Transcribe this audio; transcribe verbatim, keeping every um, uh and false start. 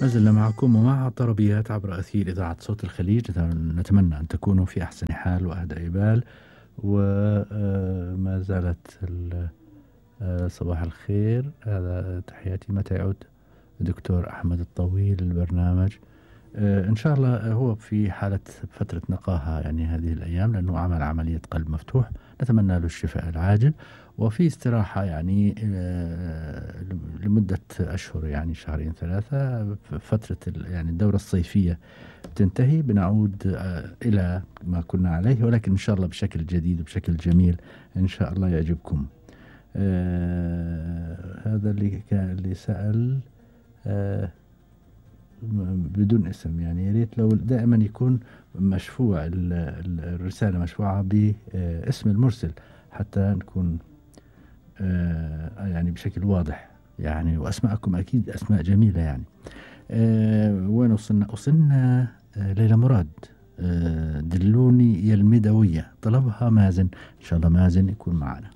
ما زلنا معكم ومع طربيات عبر أثير إذاعة صوت الخليج. نتمنى أن تكونوا في أحسن حال وأهدأ بال، وما زالت صباح الخير. هذا تحياتي. متى يعود دكتور أحمد الطويل البرنامج؟ إن شاء الله هو في حالة فترة نقاهة يعني هذه الأيام، لأنه عمل عملية قلب مفتوح، نتمنى له الشفاء العاجل، وفي استراحة يعني لمدة أشهر، يعني شهرين ثلاثة. فترة يعني الدورة الصيفية تنتهي، بنعود إلى ما كنا عليه، ولكن إن شاء الله بشكل جديد وبشكل جميل إن شاء الله يعجبكم. آه هذا اللي كان اللي سأل آه بدون اسم، يعني يا ريت لو دائما يكون مشفوع الرسالة مشفوعة باسم المرسل حتى نكون آه يعني بشكل واضح يعني، وأسماءكم أكيد أسماء جميلة يعني. آه وين وصلنا؟ وصلنا آه ليلى مراد. آه دلوني يا المدوية، طلبها مازن. إن شاء الله مازن يكون معنا.